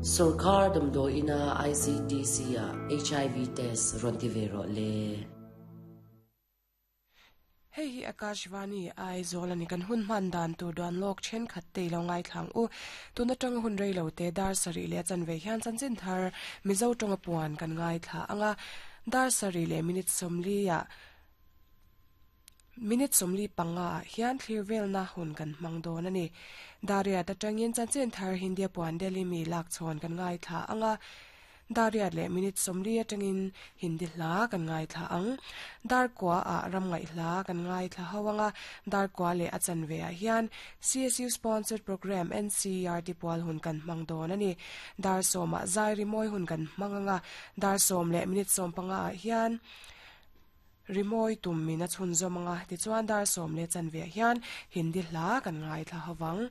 Sorkar damdawi ina ICTC ah HIV test rawn ti ve rawh le. Hei hi Akashvani Aizawl a ni. Kan hun hman dan tur duan lawk thenkhat te i lo ngaithla ang u. Tun atanga hun rei lo te dar sarih leh a chanve hian chanchin thar Mizo tawnga puan kan ngaithla ang a. Dar sarih leh minute sawmli ah minute 45 ah hian thlir velna hun kan hmang dawn a ni. Dariat atangin chanchin thar Hindia puan Delhi mi lak chhawn kan ngaithla ang a. Dariat leh minute 40 atangin Hindi hla kan ngaithla ang. Darkua ah ram ngaih hla kan ngaithla ho anga Darkua leh a chanve ah hian CSU sponsored program NCERT pual hun kan hmang dawn a ni. Dar sawm ah zai rimawi hun kan hmang anga dar sawm leh minute 15 ah hian rimawi tum min a chhunzawm anga tichuan dar sawm leh chanve ah hian Hindi hla kan ngaithla ho vang.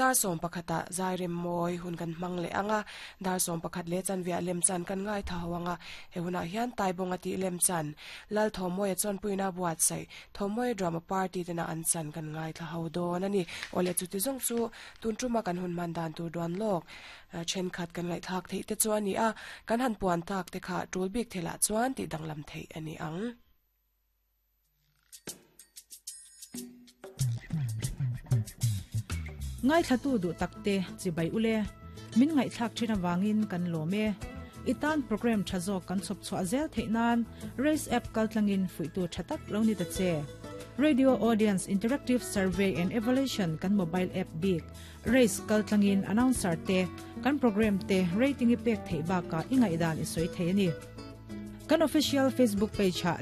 Dar 11 ah zai rem mawi hun kan hmang leh anga dar 11 leh chanve ah lem chan kan ngaithla ho anga he hunah hian taibawng a tih lem chan lal thawmawia chuan puina buat sai thawmawia drama party tena an chan kan ngaithla ho dawn ani awle chuti zawng chu tun tuma kan hun man dan tur duan lawk thenkhat kan ngaihthlak theih te chu ani a kan han puan tak te kha tul bik thela chuan ti danglam theih ani ang. Ngai thlatu du takte chibai ule min ngai thlak thina wangin kan lome itan program thazo kan chop chwa zel theinan race app kaltlangin fuitu thatak lo ni ta che radio audience interactive survey and evaluation kan mobile app big race kaltlangin announcer te kan program te rating i pek thei ba ka ingai dan i soi thei ani kan official facebook page ha.